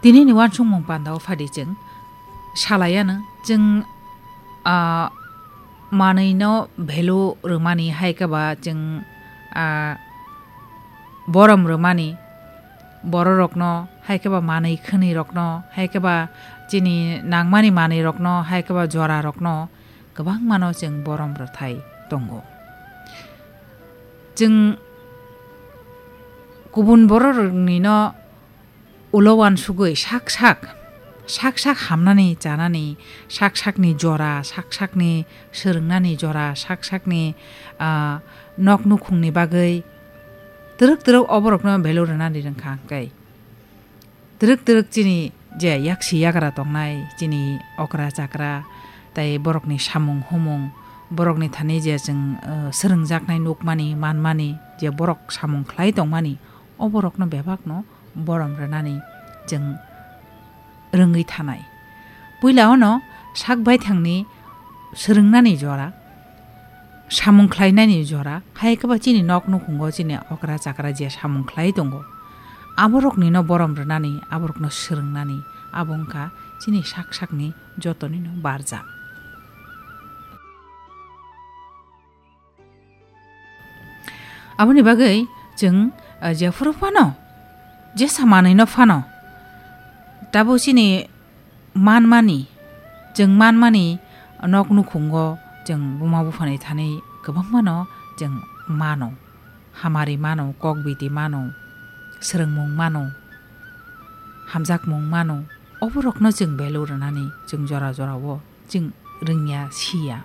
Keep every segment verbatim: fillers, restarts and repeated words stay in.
Tini ni uansukmung panda o phadi chwng salai ano, chwng, ah, manwi no value rwmani hai khe ba chwng, ah, borom rwmani borok rok no hai khe ba manwi khwnwi rok no hai khe ba chini nangmani manwi rok no hai khe ba jora rok no kwbangma no chwng borom rwthai tongo. Chwng kubun borok rok ni no ulo uansugwi sak sak, sak sak hamnani chanani, sak sakni jora, sak sakni swrwngnani jora, sak sakni, ah, nok nukhungni bagwi twrwk twrwk o borokno value rwnani rwngkha hwnkhe. Twrwk twrwk chini je yaksi yagra tongnai, chini okra chakra, tei borokni samung humung, borokni thani je chwng, ah, swrwngjaknai nukmani, manmani, je borok samung khlai tongmani, o borokno bebakno borom rwnani chwng rwngwi thanai. Puila ono sak baithangni swrwngnani jora, samung khlainani jora, hai khe ba chini nok nukhungo chini okra chakra je samung khlai tongo, aboroknino borom rwnani, aborokno swrwngnani, abo wngkha chini sak sakni jotonino barja. Aboni bagwi chwng, ah, jephuru phano, jesa manwino phano, tabuk chini manmani, chwng manmani nok nukhungo chwng buma buphani thani kwbangmano chwng mano. Hamari mano, kokbiti mano, swrwngmung mano, hamjakmung mano. Oborokno chwng value rwnani chwng jora jorao chwng rwngya, siya.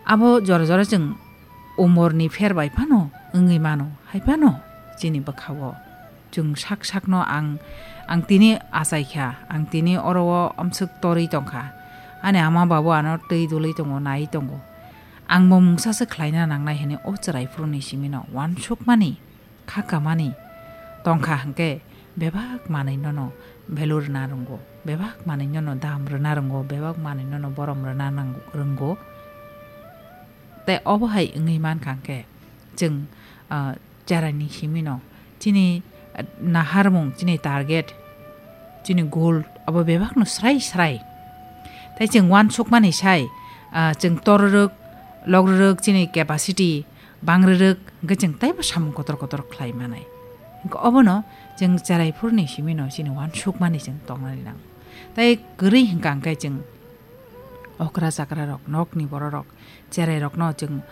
Abo jora jora chwng umorni pher bai phano wngwi mano, hai phano chini bwkhao chwng sak sakno ang, ang tini achai kha, ang tini oro o amswk torwi tong kha, ani ama babu ano twi dulwi tongo, naiwi tongo, ang bo mungsa se khlaina nangnai hwnwi o chwrai phuruni simino uansukmani kha kamani tongkha hwnkhe, bebak manwinono value rwna rwngo, bebak manwinono dam rwna rwngo, bebak manwinono borom rwna nang-, rwngo. Tei obo hai wngwi mankha hwnkhe, chwng, ah, cheraini simino chini, ah, naharmung, chini target, chini goal abo bebakno srai srai. Tei chwng uansukmani sai, ah, chwng torrwk, lokrwk chini capacity, bang rwrwk hwnkhe chwng teibo samung kotor kotor khlai manai. Hwnkhe obono chwng cherai phuruni simino chini uansukmani chwng tongnani nango. Tei kwrwi hwnkha hwnkhe chwng okra chakra rok, nokni borok rok, cherai rokno chwng